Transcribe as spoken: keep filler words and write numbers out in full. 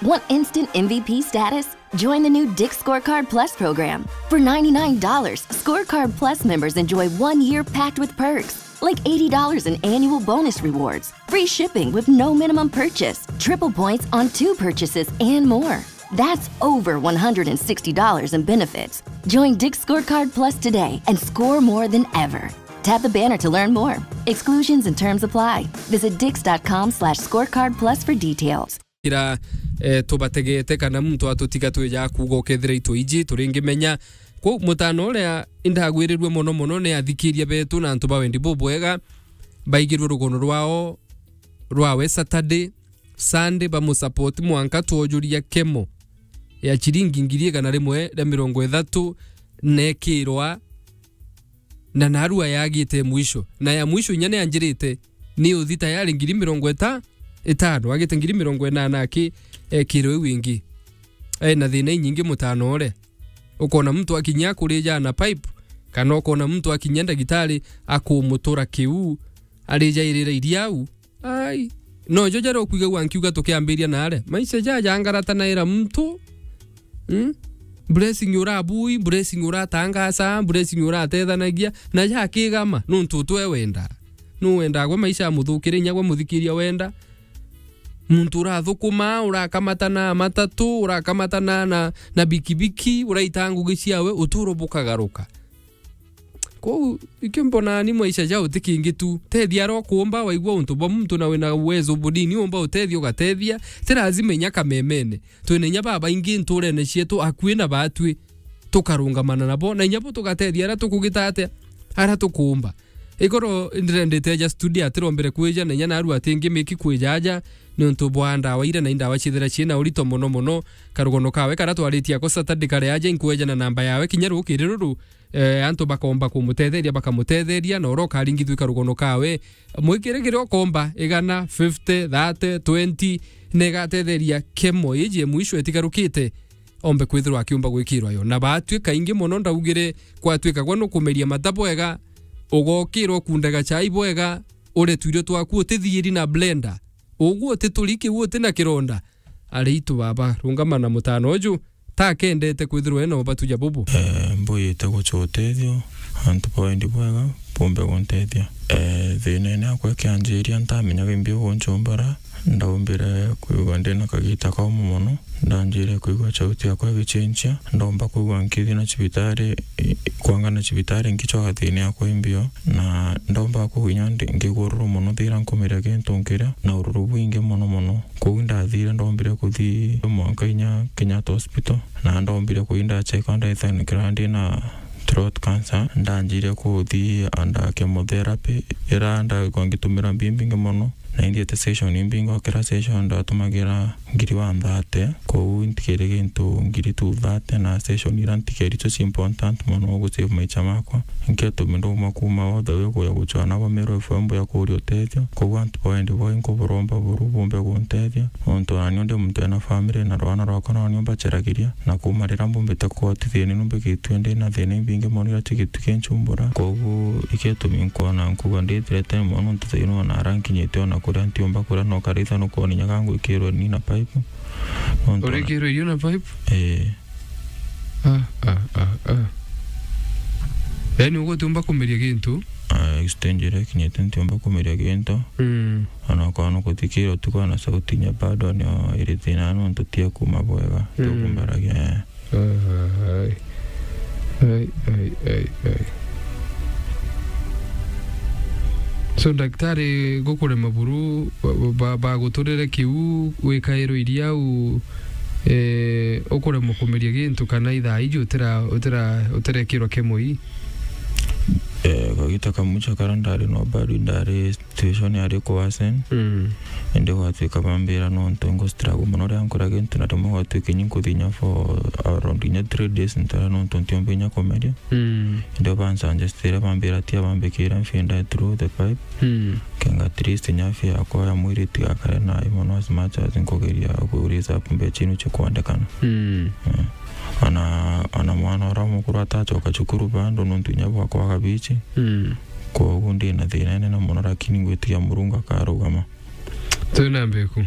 Want instant M V P status? Join the new Dick's Scorecard Plus program. For ninety-nine dollars, Scorecard Plus members enjoy one year packed with perks, like eighty dollars in annual bonus rewards, free shipping with no minimum purchase, triple points on two purchases, and more. That's over one hundred sixty dollars in benefits. Join Dick's Scorecard Plus today and score more than ever. Tap the banner to learn more. Exclusions and terms apply. Visit dicks.com slash scorecard plus for details. Kira, eh, tubategete kana muntu atutiga twija kuuga ukethira itwe iji turingimenya. Kwou mutano uria indagwirirue mono mono ni athikiria betu na antu ba wendi bubwega baigirwe rugono rwao rwawe Saturday, Sunday, bamusupport mwanka twojuria kemo ya chiringi ngiri igana rimwe ria mirongo ithatu nekirwa, na narua yagite mwisho. Na ya mwisho inya ni anjirite, ni uthi tayari ngiri mirongo ita-, itano, agite ngiri mirongo inana aki ekirwe iu ingi. Ena thina inyingi mutano uria. Ukona muntu akinyia akurija na pipe, kana ukona muntu akinyia ndagitari akumutura kiu, arijairira iria au. Ai. No jo jaria ukwigagua nkiuga tukiambiria naare. Maisha jaja ngarata naira muntu. Mm? Blessing urabui, blessing uratangasa, blessing uratethanagia, na jakigama, nuntu utwe wenda. Nu wenda gwe maisha amuthukire, inya gwe muthikiria wenda. Muntu urathukuma, urakamata na matatu, urakamata na, na, na bikibiki, uraita ngugi ciawe, uturo bukagaruka. Kwou, ikio mbonaa ni maisha ja uti kingi tu. Tethia aria ukuumba, waigua untu bwa muntu na wina uwezo bunini, umba utethia, ugatethia. Ti lazima inya kamemene. Twina inya babaingi nturene cietu, akui na batwi. Tukarungamana nabo, na inya bo tugatethia aria tukugita atia, aria tukuumba. Igoro ndirendete aja studio atirombere kwija, na inya narua ati ngi miki kwija aja, ni untu bwa ndawa iria na indawa ciithira ciina urito mono mono. Karugono kawe karia twaritie ako Saturday kari aja, inkwejana namba yawe kinya rukiri ruru, eh, antu bakomba kumutetheria, bakamutetheria, na uria ukaringithua karugono kawe. Mwikire kiria ukomba, igana, fifty, thirty, twenty, na igatetheria kemo iji mwisho itigarukite, ombe kwithirwa akiumba gwikirwa yo. Na batwi kaingi mono ndaugire, kwatwika gwe nukumeria mata bwega, ugokirwa ukundega chai bwega, urie twirio twaku utithiiri na blender, ugu utituri kiu uti na kironda, ari itu baba, rungama na mutano uju, takendete kwithirwa ena ubatu ja bubu. Eh, mbuyite gucha utethio, antu ba wendi bwega, bumbe guntethia. Eh, thinene akwa ikianjiria, ntamenyaga imbi ugunchumbura, ndaumbire kwigua ndina kagita kaumu mono, ndanjire kwigua chauti yakwa igichenchia, ndaumba kwigua nkithi na cibitari, i-, kwanga na cibitari nkichwaga thina yakwa imbio, na ndaumba kwigua inya ndi-, ngigua ururu mono thira nkumiria gintu nkiria, na ururu bwingi mono mono. Kwou ndathire, ndombire kuthi mwanka inya Kenyatta Hospital, na ndombire kuthi ndachekwa, ndethanikira ndina throat cancer. Ndanjire kuthi under chemotherapy, ira ndaigua ngitumira mbi mbingi mono, na inthiete session imbingi, o kira session ndatumagira ngiri one thirty. Kwou ntikiri gintu ngiri two thirty, na session ira ntikeri icio ci important mono gu save maicha makwa. Nketumi ndauma kuma all the way kuya guchwa nabo Meru F M ya kuria utethio. Kwou antu ba wendi bwai nkuburomba buru bumbe guntethia. Nontu nani ndi muntu ena family na rwana rwakwa nani mbacharagiria. Na kuma riria mbumbite kuotithia ni numbikitue ndi na thina imbingi mono iria chigitu kinchumbura. Kwou iketumi nkwona nkuga ndi threaten mono nontu thaino ona ara nkinyite ona kuria ntiumba kuria no karitha nukwona inya gangwikirwe ni na pipe. Nontu ona urikirwe irio na pipe? Eh. Ah, ah, ah, ah. Yaani, ugutiumba kumeria gintu? Ah, stage iria ikinyite ntiumba kumeria gintu. Mm. Ona kwona kuthikira utuku na sauti inya bado ni iri thina nontu tia kuma bwega, mm, tukumbaragia, eh. Ai, ai, ai, ai. So, daktari, gukurema buru, ba-, ba-, baguturire kiu, wikairwe iria u, eh, ukuremwa kumeria gintu, kana ithaa iji utira-, utira-, utirekirwa kemo ii? Eh, kagita kamucha kara ndari no bado ndari situation yari kuwasen. Mm. Indi gwatuika bambira nontu ngu struggle mono ria nkura gintu, na rimwe gwatuika inya nkuthinya for around inya three days ntara nontu ntiumba inya kumeria. Mm. Indi bansuggestire bambira tia bambikire mfinda through the pipe. Mm. Kenga at least inya afya yakwa ya mwiri itigakare nayo mono as much as nkugeria ku raise up mbecha inu chikwendekana. Mm. Eh. Ona, ona mwana uria mukuru atachoka cukuru bado nontu inya bwa kwaga bichi. Mm. Kwogu ndi na thina inene mono, lakini ngwitikia Murungu akarugama. Twina mbeku.